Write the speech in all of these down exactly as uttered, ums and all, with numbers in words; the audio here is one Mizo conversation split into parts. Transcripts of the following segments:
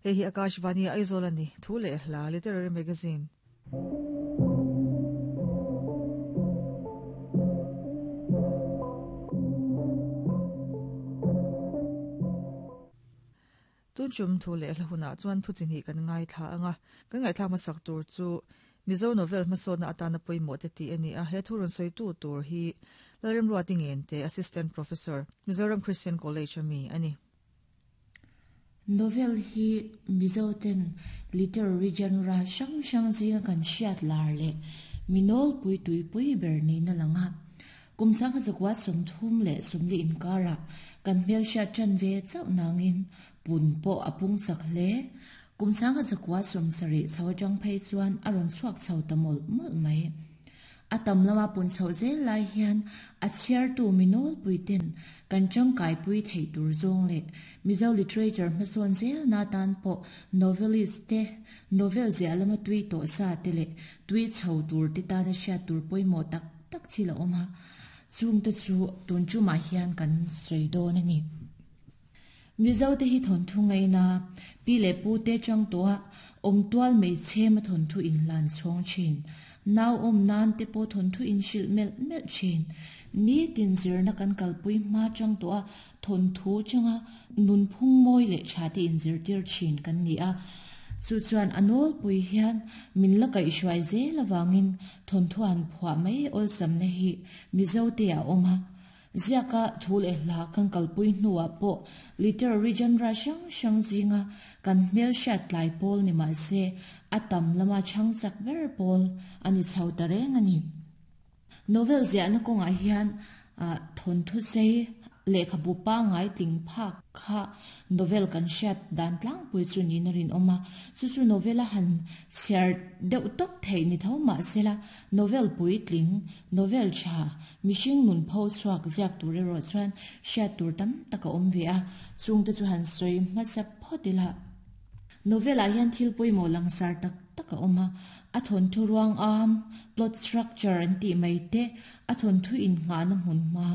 Hei hi Akashvani Aizawl ani thu leh hla literary magazine. Tun chum thu leh hla huna chuan thu chi ni kan ngai thla anga kan ngai thla masak tur chu Mizo novel hmasawna atana pawimawh te ti ani a he thurun sei tu tur hi Lalremruati Ngente Assistant Professor Mizoram Christian College ami ani. Novel hi Mizo ten literary genre hrang hrang zinga kan hriat lar leh minol pui tui pui ber ni na langa kumsang kha zakwa sawmthum leh sawmli inkara kan hmel hriat ṭan ve chauh nangin pun pawh a pung chak hle kumsang kha zakwa sawm sarih chho atang phei chuan a rawn chhuak chho ta mawlh mawlh mai a tam lama pun chho zel lai hian a chhiar tu minol pui ten kan tangkai pui thei tur zawng leh Mizo literature hmasawn zel na tan pawh novelist te novel ziah lama tui tawh sa te leh tui chho tur te tana hriat tur pawimawh tak tak thil a awm a chung te chu tun chumah hian kan sawi dawn ani. Mizo te hi thon thu ngai na pi le pu te chang to a om tual mei chem a thon thu in lan chhawng thin nau om nan te pawh thon thu in hrilh melh melh thin ni tin zir na kan kalpui hma chang to a thon thu changa nun phung mawi leh tha te in zir tir thin kan ni a chu chuan anol pui hian min la kai hruai zel awangin thon thu an phuah mai awlsam na hi Mizo te a awm a ziaka thu leh hla kan kalpui hnuah pawh literary genre hrang hrang zinga kan hmel hriat tlai pawl ni mah se a tam lama chhang chak ber pawl ani chho ta reng ani. Novel ziahna kawngah hian thon thu sei lehkhabu pangai tling phak kha novel kan hriat dan tlangpui chu niin a rin awm a chu chu novel a han chhiar deuh tawp theih ni tho mah sela novel pui tling novel tha mihring nun pho chhuak ziak tur erawh chuan hriat tur tam tak a awm ve a chung te chu han sawi hmasa phawt ila. Novel ah hian thil pawimawh langsar tak tak a awm a a thon thu ruang am plot structure an tih mai te a thon thu in nghahna hmun hma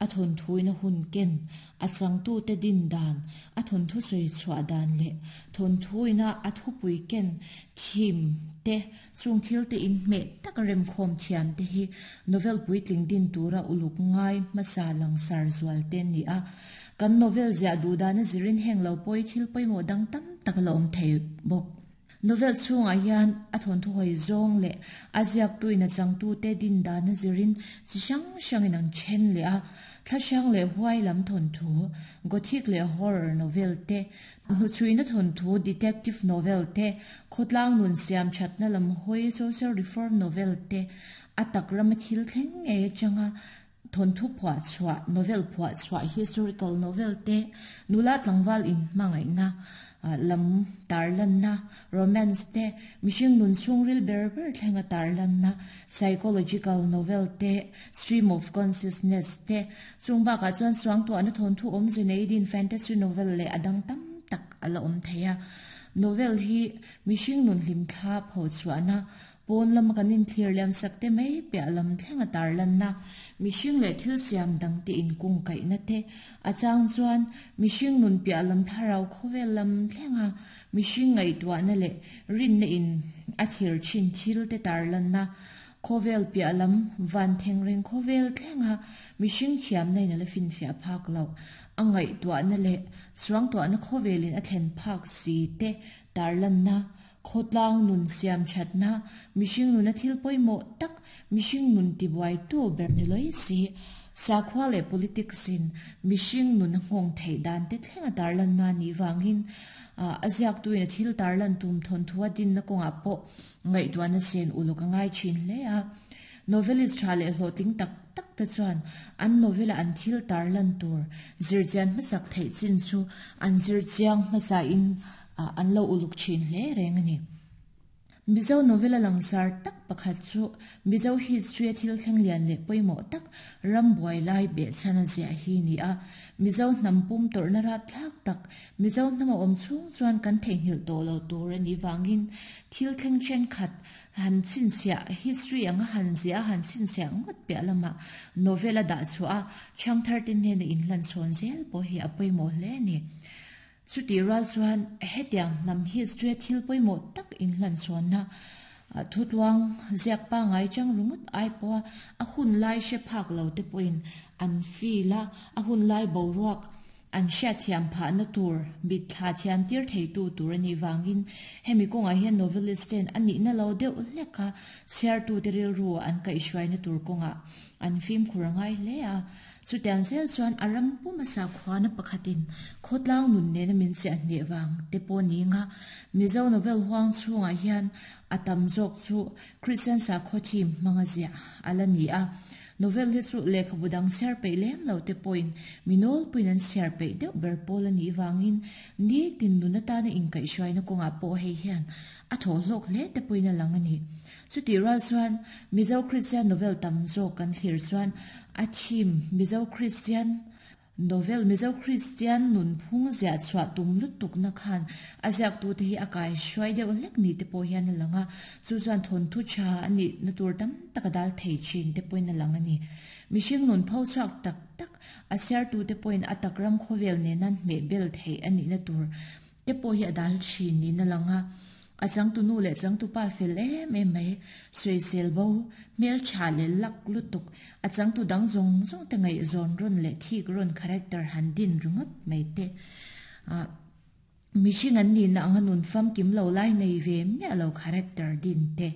a thon thu in a hun ken a changtu te din dan a thon thu sawi chhuah dan leh thon thu ina a thu pui ken thim te chung thil te in hmeh tak rem khawm thiam te hi novel puitling din tura uluk ngai hmasa langsar zual te ni a kan novel ziah duh dan a zirin heng lo pawi thil pawimawh dang tam tak la awm thei bawk. Novel chungah hian a thon thu hawi zawng leh a ziak tuin a changtu te din dan a zirin chi hrang hrangin an then leh a thla hrang leh huai lam thon thu gothic leh horror novel te hnuchhuina thon thu detective novel te khawtlang nun siam thatna lam hawi social reform novel te a tak rama thil thleng ngei atanga thon thu phuah chhuah novel phuah chhuah historical novel te nula tlangval in hmangaihna lam tarlanna romance te mihring nun chhungril ber ber thlenga tarlanna psychological novel te stream of consciousness te chung bakah chuan suangtuahna thon thu awmze nei din fantasy novel leh a dang tam tak a la awm thei a. Novel hi mihring nun hlim thla pho chhuahna pawn lama kan inthlir liam sak te mai piah lam thlenga tarlanna mihring leh thil siam dang te inkung kaihna te a chang chuan mihring nun piah lam tharau khawvel lam thlenga mihring ngaihtuahna leh rinna in a thir thin thil te tarlanna khawvel piah lam van thengreng khawvel thlenga mihring thiamna in a la finfiah phak lo a ngaihtuahna leh suangtuahna khawvelin a thlen phak si te tarlanna khawtlang nun siam thatna mihring nun a thil pawimawh tak mihring nun tibuai tu ber ni loi si sakhua leh politics in mihring nun a nghawng theih dan te thlenga tarlanna ni wangin a ziak tuin a thil tarlan tum thon thu a din na kawngah pawh ngaihtuahna sen uluk a ngai thin hle a. Novelist tha leh hlawhtling tak tak te chuan an novel a an thil tarlan tur zirchian hmasak theih chin chu an zirchiang hmasa in an lo uluk thin hle reng ani. Mizo novel a langsar tak pakhat chu Mizo history a thil thleng lian leh pawimawh tak ram buai lai beh chhan a ziah hi ni a Mizo hnam pum tawrhna rat thlak tak Mizo hnam a awm chhung chuan kan theihnghilh tawh lo tur ani wangin thil thleng then khat han chhinchhiah history anga han ziah han chhinchhiah ngawt piah lama novel a dah chhuah a chhang thar te hnena in hlan chhawn zel pawh hi a pawimawh hle ani. Chuti ral chuan hetiang nam history thil pawimawh tak in hlan chuan na thutluang ziak pa ngai chang rungut ai pawh a hun lai she phak lo te pawhin an fila a hun lai boruak an hriat thiam pha na tur bit thla thiam tir thei tu tur ani wangin hemi kawnga hian novelist ten ani na lo deuh hleka chhiar tu te ril ru an kai hruai na tur kawnga an fim khurangai hle a chutiang zel chuan aram puma sa khwana pakhatin khotlang nun ne na min che hne wang te pawh ni nga Mizo novel huang chunga hian atam zawk chu Christian sa khaw manga zia ala ni a novel hi chu lekhabudang chhiar peih lem lo te pawhin minol puin an chhiar peih deuh ber pawl ani wangin ni tin nun atana inkaih hruaina kawnga pawh hei hian a thaw hlawk hle te pawhin a lang ani chuti ral chuan Mizo Christian novel tam zawk kan thlir chuan a thim Mizo Christian novel Mizo Christian nun phung zia chhuah tum lutuk na khan a ziak tu te hi a kai hruai deuh hlek ni te pawh hian a lang a chu chuan thawn thu tha ani na tur tam tak a dal thei thin te pawhin a lang ani mihring nun pho chhuak tak tak a chhiar tu te pawhin a takram khawvel nen an hmeh bel thei ani na tur te pawh hi a dal thin niin a lang a a changtu nu leh changtu pa fel em em mai sawi sel bo hmel tha leh lak lutuk a changtu dang zawng zawng te ngaih zawn rawn leh thik rawn character han din ringawt mai te a mihring an ni na anga nun fam kim lo lai nei ve miah lo character din te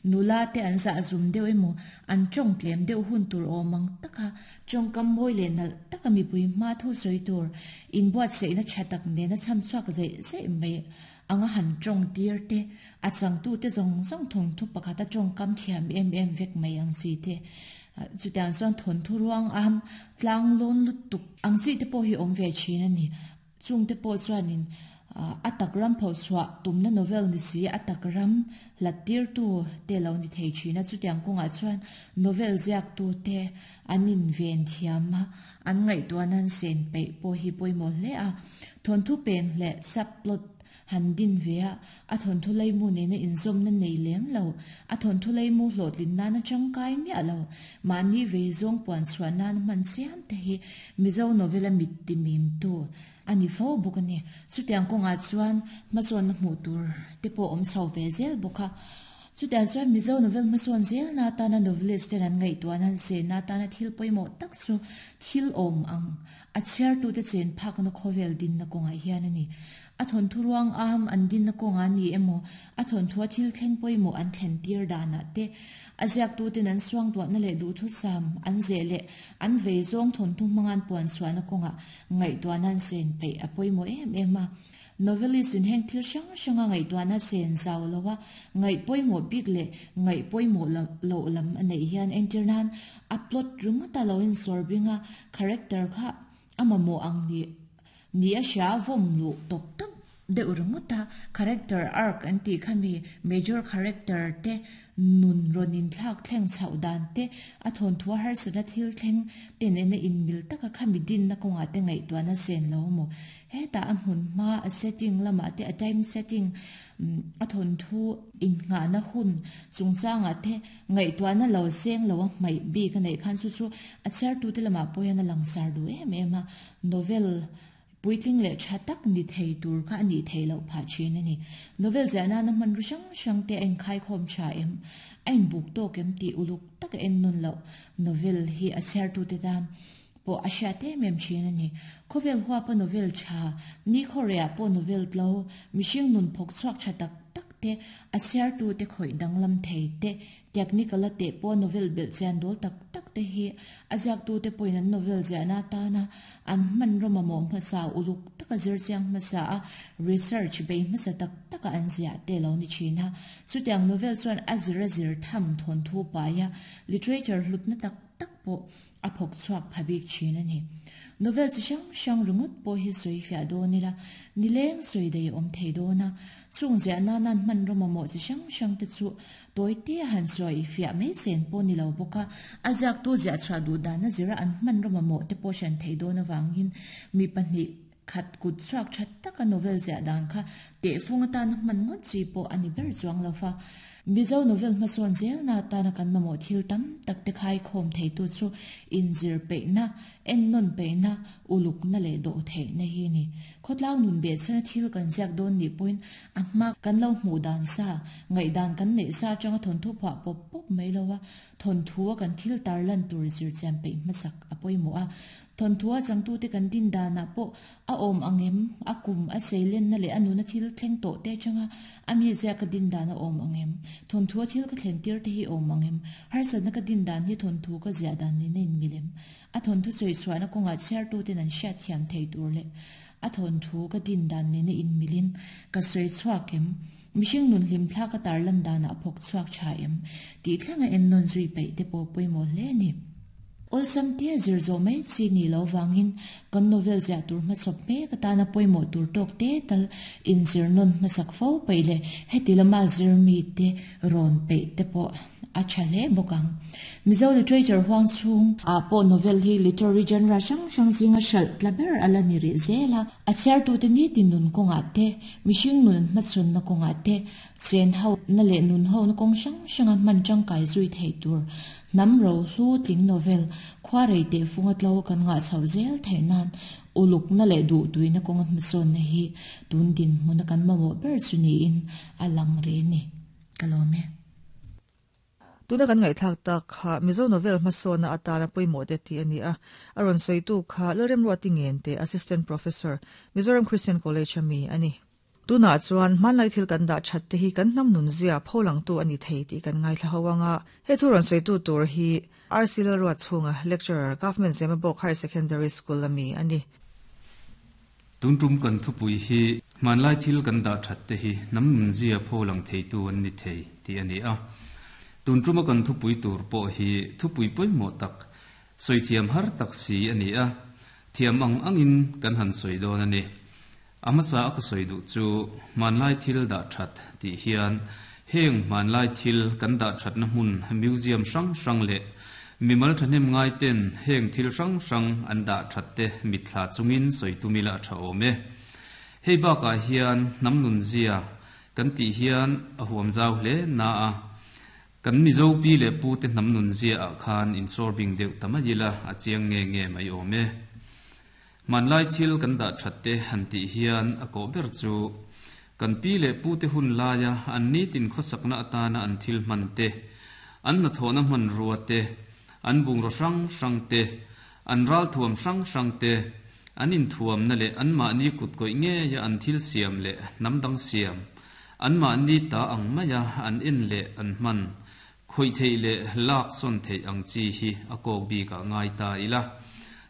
nula te an za zum deuh emaw an tawng tlem deuh hun tur awmang taka tawngkam mawi leh nalh taka mipui hma thu sawi tur inbuat seihna tha tak nena cham chhuak zeih zeih mai anga han tawng tir te a changtu te zawng zawng thawng thu pakhat a tawngkam thiam em em vek mai ang chi te chutiang chuan thawn thu ruang am tlang lawn lutuk ang chi te pawh hi awm ve thin ani chung te pawh chuanin a takram pho chhuah tumna novel ni si a takram hlat tir tu te lo ni thei thina chutiang kawngah chuan novel ziak tu te an in ven thiam a an ngaihtuah nan sen peih pawh hi pawimawh hle a thawn thu pen leh subplot han din ve a a thawn thu lei mu nena inzawm na nei lem lo a thawn thu lei mu hlawhtlin nana tangkai miah lo mahni ve zawng puan chhuah nan hman chiam te hi Mizo novel a mit ti mim tu ani fo bawk ani chutiang kawngah chuan hmasawn na hmuh tur te pawh awm chho ve zel bawk a chutiang chuan Mizo novel hmasawn zel na atana novelist ten an ngaihtuah nan se na atana thil pawimawh tak chu thil awm ang a chhiar tu te chen phak na khawvel din na kawngah hian ani a thawn thu ruang am an din na kawnga ni emaw a thawn thua thil thleng pawimawh an thlen tir danah te a ziak tu ten an suang tuah na leh duh thu sam an ze leh an vei zawng thawn thu hmangan puan chhuah na kawnga ngaihtuah nan sen peih a pawimawh em em a novelist in heng thil hrang hranga ngaihtuah na sen zau lowa ngaih pawimawh bik leh ngaih pawimawh lo lam a neih hian entir nan a plot ringawt a lo in sawr binga character kha a mamawh ang ni ni a hria vawm lu tawp tawp deuh ringawt a character arc an tih khami major character te nun rawn thlak thleng chhoh dan te a thawn thua harsatna thil thleng ten ena in mil taka khami din na kawnga te ngaihtuah na sen lo maw heta a hmun hma a setting lamah te a time setting a thawn thu in nga na hun chungchanga te ngaihtuah na lo seng lo a hmaih bik a neih khan chu chu a chhiar tu te lamah pawh hian a langsar du em em a novel puitling leh tha tak ni thei tur kha ani thei lo pha thin ani novel zana na man ru hrang hrang te en khai khom tha em ain buk tok em ti uluk tak en nun lo novel hi a chhiar tu te tan po a hria te mem thin ani khovel huwa pa novel tha ni khorea po novel tlo mihring nun phok chhuak tha tak tak te a chhiar tu te khoi danglam thei te technical te po novel bel chan dol tak tak te hi azak tu te poin an novel zana ta na an man roma mo hmasa uluk taka zir chiang hmasa a research bei hmasa tak taka an zia te lo ni thina chutiang novel chuan a zir a zir tham thon thu pa ya literature hlut na tak tak po a phok chuak phabik thin ani novel chi hrang hrang ringot pawh hi sawi fiah dawn ila nileng sawi dei awm thei dawn a chung zia na nan hman roma mo chi hrang hrang te chu toy te han sawi fiah mai sen pawh ni lo bawk a a ziak tu zia chhuah duh dan a zira an hman roma mo te pawh hran thei dawn awangin mi pahnih Khat kut chuak that taka novel zia dan kha te funga tan man ngot chi po ani ber chuang lofa Mizo novel mason zel na tana kan mamo thil tam tak te khai khom thei tu chu in zir pe na en non pe na uluk na le do thei na hi ni khotlang nun be chana thil kan jak don ni point ahma kan lo hmu dan sa ngai dan kan nei sa changa thon thu pha pop pop mai lowa thon thuwa kan thil tar lan tur zir cham pe masak apoi mo a thon thua changtu te kan din dana po a om angem akum a seilen na le anu na thil thleng to te changa ami zia ka din dana om angem thon thua thil ka thlen tir te hi om angem har sa na ka din dan hi thon thu ka zia dan ni nen milem a thon thu choi chuana konga chair tu te nan sha thiam thei tur le a thon thu ka din dan ni ne in milin ka soi chuakem mishing nun lim thla ka tar lan dana phok chuak cha em ti thlanga en non zui pe te po poi mo hle ni ol sam te zir zo mai chi ni lo wangin kan novel zia tur ma chop me ka ta na poimo tur tok te tal in zir non ma sak fo peile heti lama zir mi te ron pe te po a chale bokang Mizo literature huang chung a po novel hi literary genre sang sang zinga shal tlaber ala ni ri zela a chher tu te ni tin nun konga te mishing nun ma chun na konga te chen hau na le nun ho na kong sang sanga man chang kai zui thei tur nam ro hlu tling novel khwa rei te funga tlo kan nga chau zel theinan uluk na le du tuina konga mson na hi tun din mun kan ma mo ber chuni in alang re ni kalome tuna kan ngai thak ta kha Mizo novel masona atana poimo te ti ani a aron soitu kha Lalrem Ruati Ngente assistant professor Mizoram Christian College ami ani tuna chuan manlai thil kan da that te hi kan nam nun zia pholang tu ani thei ti kan ngai thla hawanga he thuron soitu tur hi R C Lalruat chunga lecturer Government Zemabawk Higher Secondary School ami ani tuntum kan thupui hi manlai thil kan da that te hi nam nun zia pholang thei tu an ni thei ti ani a tuntruma kan thupui tur po hi thupui poi mo tak soi thiam har tak si ani a thiam ang angin kan han soi don ani amasa ka soi du chu manlai thil da that ti hian heng manlai thil kan da that na hun museum sang sang le mimal thanem ngai ten heng thil sang sang an da that te mithla chungin soi tumila tha ome hei ba ka hian namnun zia kan ti hian a huam zau hle na a kan Mizo pi le pu te nam nun zia a khan in sorbing deuh tamayila a chiang nge nge mai ome manlai thil kan da thatte han ti hian a ko ber chu kan pi le pu te hun laya an ni tin khosakna atana an thil man te an na thona man ruwa te an bung ro sang sang te an ral thuam sang sang te an in thuam na le an ma ni kut koi nge ya an thil siam le nam dang siam an ma ni ta ang maya an in le an man khoi thei le lak son thei ang chi hi a kok bi ka ngai ta ila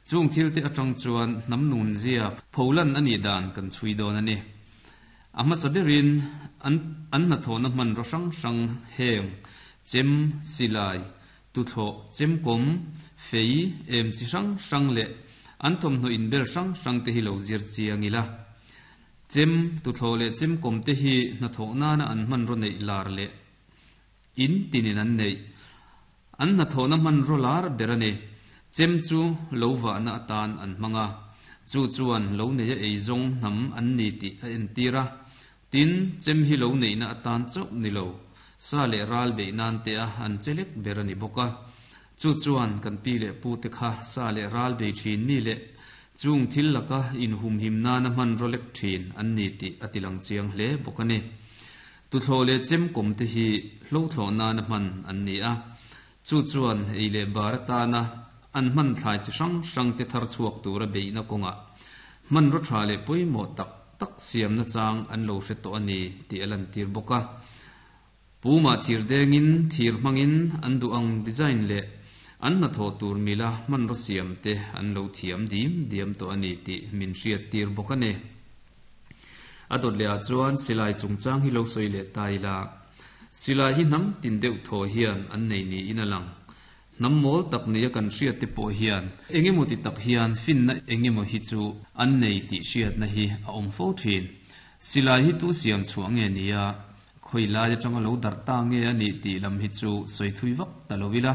chung thil te atang chuan nam nun zia pholan ani dan kan chui don ani ama sabirin an an na thona man ro sang sang heng chem silai tu tho chem kom fei em chi sang sang le an thom no in bel sang sang te hi lo zir chiang ila chem tu tho le chem kom te hi na tho na na an man ro nei lar le in tinin an nei an na tho na man ro lar berane chem chu lo wa na tan an manga chu chuan lo nei ei zong nam an ni ti a en tira tin chem hi lo nei na tan chok ni lo sa le ral be nan te a an chelek berani boka chu chuan kan pi le pu te kha sa le ral be thin mi le chung thil laka in hum him na na man rolek thin an ni ti atilang chiang hle bokane tu tho le chem kom te hi hlo tho na na man an ni a chu chuan ei le barata na an man thlai chi sang sang te thar chuak tur a beina konga man ro tha le poimo tak tak siam na chang an lo hre to ani ti alan tir boka puma thir dengin thir mangin an du ang design le an na tho tur mila man ro siam te an lo thiam dim diam to ani ti min hriat tir boka ne adot le a chuan silai chungchang hi lo soi le taila silai hi nam tin deuh tho hian an nei ni in alang nam mol tak ni kan hriat te pawh hian engemaw ti tak hian fin na engemaw hi chu an nei ti hriat na hi a awm fo thin silai hi tu siam chhuah nge nia khoi lai atanga lo dar ta nge ani ti lam hi chu soi thui vak ta lovila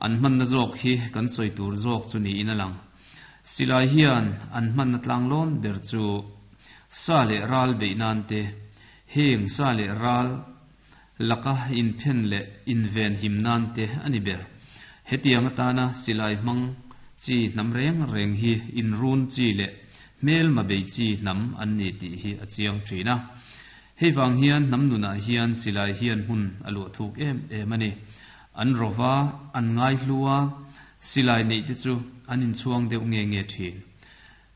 an man na zawk hi kan soi tur zawk chu ni in alang Silai hian an hman na tlang lawn ber chu sa le ral bei nan te heng sa le ral laka in phen le in ven him nan te ani ber. Hetiang atana silai hmang chi nam reng reng hi in run chi le mel ma bei chi nam an ni ti hi a chiang thina. Hei wang hian nam nuna hian silai hian hun alu thuk em em ani. An rova an ngai hluwa silai nei te chu an in chuang deuh nge nge thin.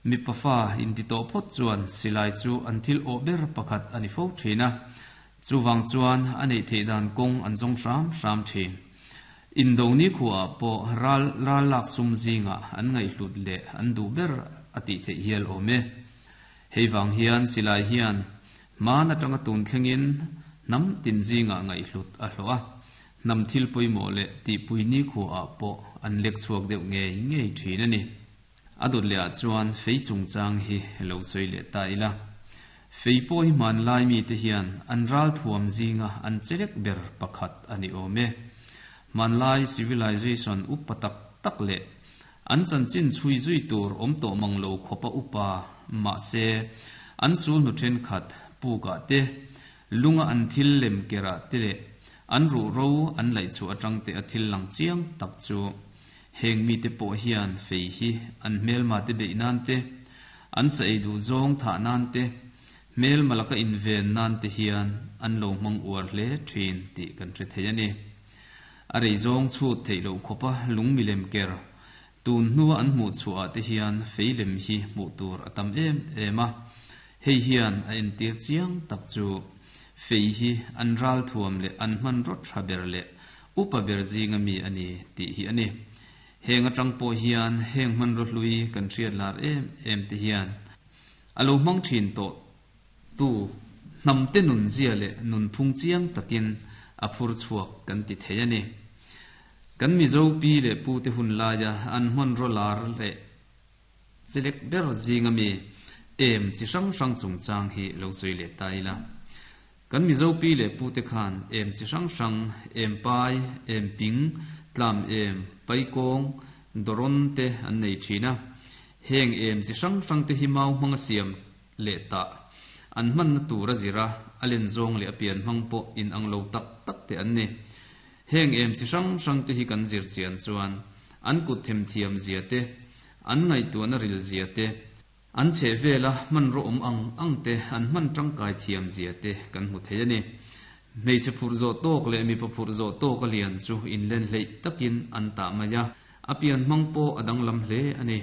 Mi pafa in ti to phot chuan silai chu an thil o ber pakhat ani fo thina. Chu wang chuan anei theidan kong an jong ram ram thin. Indoni khuwa po ral ral lak sum zinga an ngai hlut le an du ber ati the hial ome. Hei wang hian silai hian mana tanga tun thlengin nam tin zinga ngai hlut a hloa. Nam thil poimo le ti puini khuwa po an lek chuak deuh nge nge thin ani. Adut le a chuan fei chung chang hi lo soi le ta ila. Fei po hi man lai mi te hian an ral thuam zinga an chelek ber pakhat ani ome. Man lai civilization upatak tak le an chan chin chui zui tur om to manglo khopa upa ma se an sul nu then khat pu ka te lunga an thil lem kera te le an ru ro an lai chu atang te athil lang chiang tak chu heng mi te po hian fei hi an mel ma te be nan te an sa ei du zong tha nan te mel malaka in ven nan te hian an lo mang uar hle thin ti kan tre thei ani. Arei zong chu theilo khopa lung milem ker tun nuwa an mu chu a te hian feilem hi mu tur atam em ema. Hei hian a en tir chiang tak chu fei hi an ral thuam le an man rot tha ber le upa ber zinga mi ani ti hi ani. Heng atang po hian heng man ro hlui kan thiat lar em em te hian alo mang thin to tu nam te nun zia le nun phung chiang takin a phur chuak kan ti thei ani. Kan mi zo pi le pu te hun la ya an hman ro lar le chelek ber zinga mi em chi sang sang chung chang hi lo zui le tai la. Kan mi zo pi le pu te khan em chi sang sang em pai em ping tlam em pai kong doron te an nei thina. Heng em chi sang sang te hi mau manga siam le ta an man na tura zira alen zong le apian mang po in ang lo tak tak te an ni. Heng em chi sang sang te hi kan zir chian chuan an kut them thiam zia te an ngai tu na ril zia te an che vela man ro om ang ang te an man tang kai thiam zia te kan mu thei ani. Mei che phur zo tok le mi pa phur zo tok alian chu in len hlei takin an ta maya apian mang po adang lam hle ani.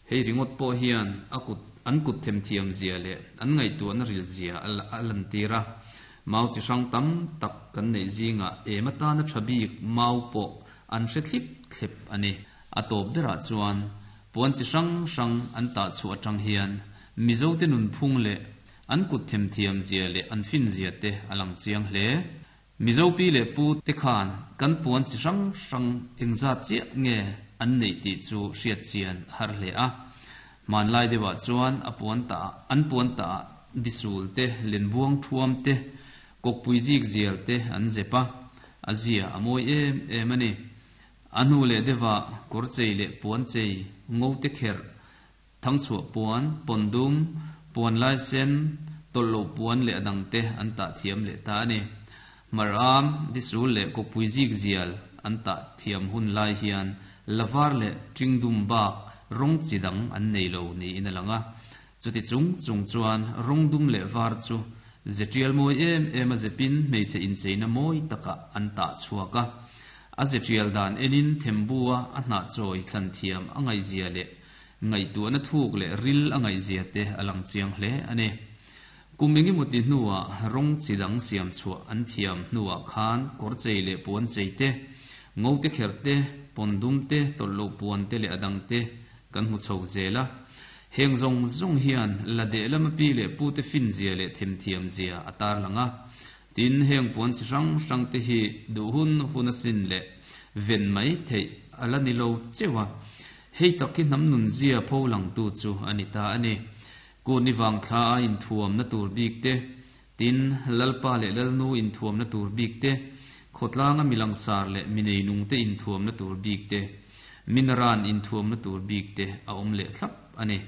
Hei ringot po hian akut an kut them thiam zia le an ngai tu an ril zia alan tira. Mau chi sang tam tak kan nei zinga emata na thabik mau po an hre thlip thlep ani. Atop bera chuan puan chi sang sang an ta chu atang hian mizo te nun phung le an kut them thiam zia le an fin zia te alang chiang hle. Mizo pi le pu te khan kan puan chi sang sang engza chi nge an nei ti chu hriat chian har hle a. Man lai dewa chuan a puan ta an puan ta disul te lenbuang thuam te kokpui zik zial te an zepa azia amoi em em ani. Anu le dewa korchei le puan chei ngo te kher thangchu puan pondum puan lai sen tollo puan le adang te an ta thiam le ta ani. Maram disul le kokpui zik zial an ta thiam hun lai hian lavar le tingdum bak rong chidang an nei lo ni in alanga. Chuti chung chung chuan rongdum le var chu zetial moi em em a zepin meiche in cheina moi taka an ta chuaka. A zetial dan enin thembua a hna choi thlan thiam angai zia le ngai tu na thuk le ril angai zia te alang chiang hle ani. Kumingi muti nuwa rong chidang siam chu an thiam nuwa khan kor chei le puan chei te ngo te kher te pondum te tollo puan te le adang te kan hu chho zela. Heng zong zong hian la de lama pi le pu te fin zia le them thiam zia atar langa. Tin heng puan chi rang rang te hi du hun hun sin le ven mai thei ala ni lo chewa. Hei takin nam nun zia pho lang tu chu anita ani. Ko ni wang thla in thuam na tur bik te tin lalpa le lalnu in thuam na tur bik te khotlanga milang sar le minei nung te in thuam na tur bik te Minaran in thuam na tur bik te a awm leh thlap ani.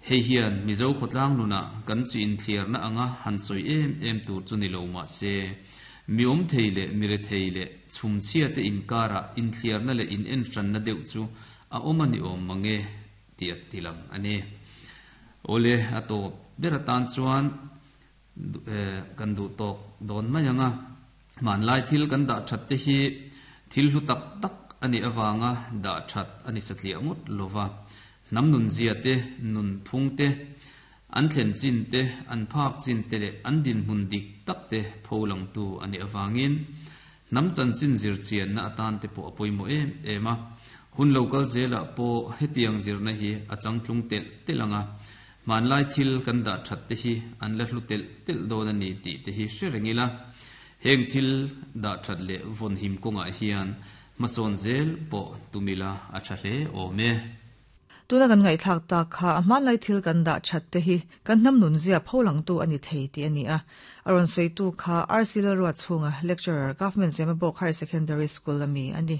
Hei hian Mizo khawtlang nuna kan chi in thliar na anga han sawi em em tur chu ni lo ma se. Mi awm thei leh mi re thei leh chhum chhia te inkara in thliar na leh in en hran na deuh chu a awm ani awm mange ti a tilang ani. Ole a tawp ber atan chuan kan du tok don mai anga man lai thil kan dah that te hi thil hlu tak tak ani awanga dah that ani satlia ngot lova nam nun zia te nun phung te an thlen chin te an phak chin te le an din hun dik tak te pholang tu ani awangin nam chan chin zir chian na atan te po apoimo em ema hun local zela po hetiang zirna hi achang tlung tel telanga man lai thil kan da that te hi an la hlu tel tel don ani ti te hi hre heng thil da that le von him konga hian mason zel po tumila a tha hle ome. Tuna kan ngai thak ta kha man lai thil kan da that te hi kan nam nun zia pholang tu ani thei ti ani a. Aron sei tu kha R C Lalruat chunga lecturer, Government Zemabawk Higher Secondary School ami ani.